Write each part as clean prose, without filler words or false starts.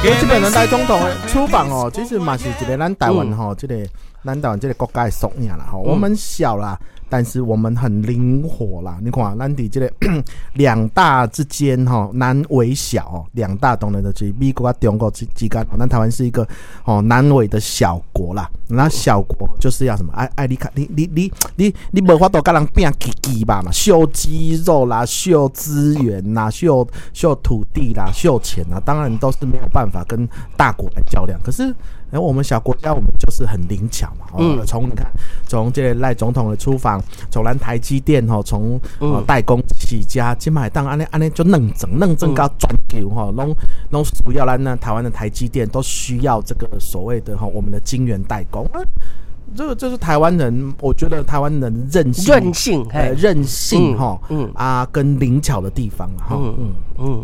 這擺咱賴總統的出訪哦，其實嘛是一个咱台灣吼，這个咱台灣這个國家的縮影啦吼。我們小啦，但是我們很靈活啦。你看，咱佇這个兩大之間吼，難為小哦，兩大當然就是美國佮中國之間，咱台灣是一個哦難為的小國啦。那小國就是要什麼？愛愛你看，你無法度佮人拚起雞吧嘛？秀肌肉啦，秀資源啦，秀秀土地啦，秀錢啦，當然都是沒有辦法跟大國來較量。可是，欸，我們小國家，我們就是很靈巧嘛。從你看，從這個賴總統的出訪，從咱台積電吼，從代工起家，這擺當按呢按呢就軟整軟整到全球吼，攏攏需要咱呢台灣的台積電都需要這個所謂的哈我們的晶圓代工。啊，這個就是台灣人，我覺得台灣人韌性，韌性，韌性哈，啊，跟靈巧的地方哈，嗯，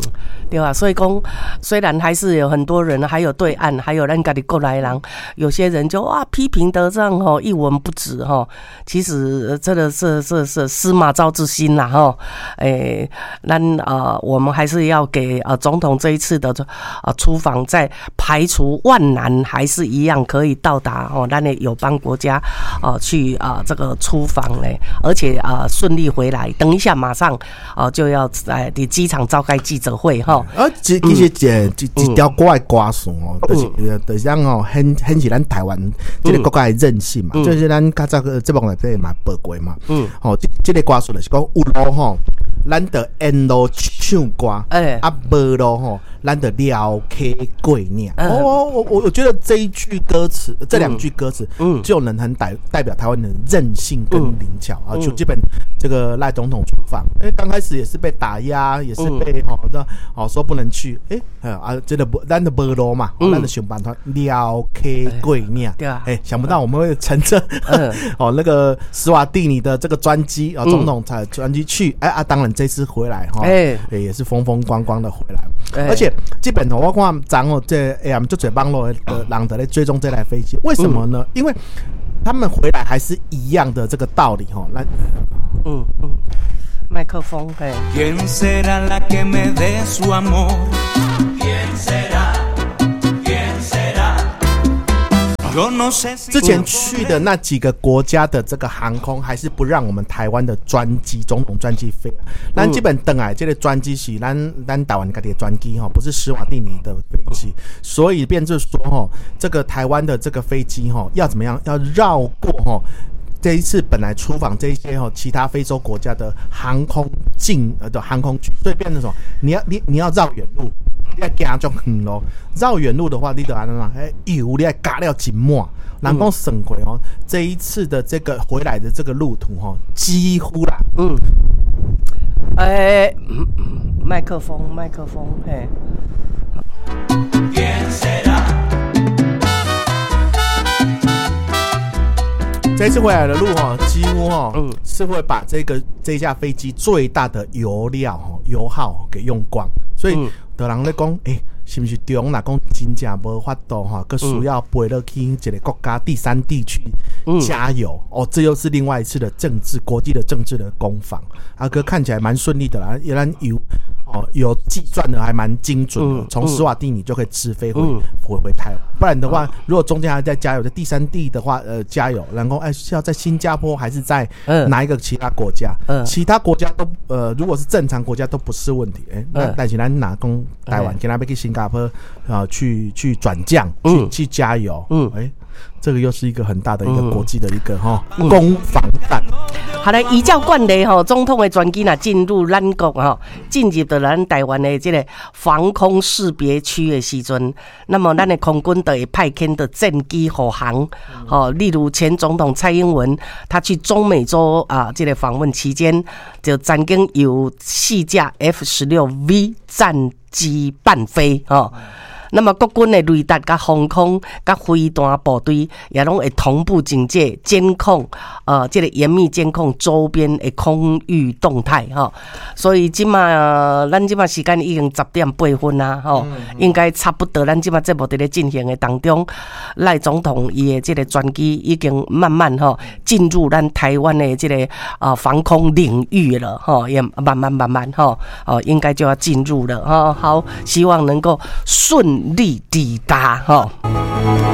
對吧？所以講，雖然還是有很多人，還有對岸，還有咱家己國內人，有些人就哇批評得這樣吼一文不值哈。其實這個是司馬昭之心啦吼。欸，咱我們還是要給總統這一次的出訪，在排除萬難，還是一樣可以到達哦，咱的友邦國家哦去啊這個出訪嘞，而且啊順利回來。等一下馬上啊就要在佇機場召開記者會哈。啊，其實這條歌的歌詞哦，就是講哦，顯示咱台灣這個國家的韌性嘛，就是咱較早個節目內底嘛報過嘛。吼，這個歌詞就是講有路吼，咱就沿路唱歌，啊無路吼，咱就撩溪過嶺。哦，我覺得這一句歌詞，這兩句歌詞，就能很代表台灣的韌性跟靈巧啊。就這擺這個賴總統出訪，欸，剛開始也是被打壓，也是被吼那哦說不能去，欸，啊，這個無咱就無路嘛，咱就想辦法撩溪過嶺。對啊，欸，想不到我們會乘着哦那個史瓦蒂尼的這個專機啊，總統才專機去，欸啊，當然這次回來哈，欸，也是風風光光的回來，而且這擺我看昨哦，這欸，就濟網路的人在咧追蹤這台飛機，為什麼呢？因為他們回來還是一樣的這個道理哈。來，嗯，麥克風，嘿。 ¿Quién será la que me dé su amor? ¿Quién será? ¿Quién será? Yo no sé si 之前去的那幾個國家的這個航空，還是不讓我們台灣的專機、總統專機飛。咱這擺轉來這個專機是咱台灣家己的專機哈，不是史瓦蒂尼的飛機，所以變成說哈，這個台灣的這個飛機哈，要怎麼樣？要繞過哈。這一次本來出訪這些哈其他非洲國家的航空境的航空區，所以變成什麼？你要繞遠路，你愛行足遠路。繞遠路的話，你就按怎？欸，油你愛加了真滿。人講算過哦，這一次的這個回來的這個路途哈，幾乎啦，欸，麥克風，麥克風，嘿。 ¿Quién será? 這次回來的路哈，幾乎哈，是會把這架飛機最大的油料油耗給用光，所以有人咧講，欸，是毋是中若講真正無法度哈，閣需要飛落去一個國家第三地區加油哦，這又是另外一次的政治國際的政治的攻防。啊閣看起來蠻順利的啦，伊咱油哦有計算的還蠻精準的，從史瓦蒂尼就可以直飛回台灣。不然的話，如果中間還在加油，在第三地的話，加油，然後哎是要在新加坡還是在哪一個其他國家？其他國家都如果是正常國家都不是問題。欸，那但是咱若講台灣，今仔欲去新加坡啊，去轉降，去加油。欸，這個又是一個很大的一個國際的一個哈攻防戰。好嘞，依照慣例吼，總統的專機若進入咱國吼，進入到咱台灣的這個防空識別區的時陣，那麼咱的空軍就會派遣的戰機護航。吼，例如前總統蔡英文，他去中美洲啊，這個訪問期間，就曾經有四架 F-16V 戰機伴飛，吼。那麼國軍的雷達、佮防空、佮飛彈部隊，也攏會同步警戒、監控，這個嚴密監控周邊的空域動態，吼。所以這馬咱這馬時間已經10點8分啦，吼，應該差不多。咱這馬節目佇咧進行的當中，賴總統伊的這個專機已經慢慢吼進入咱台灣的這個防空領域了，吼，也慢慢慢慢吼，哦，應該就要進入了，吼。好，希望能夠順順利抵達吼。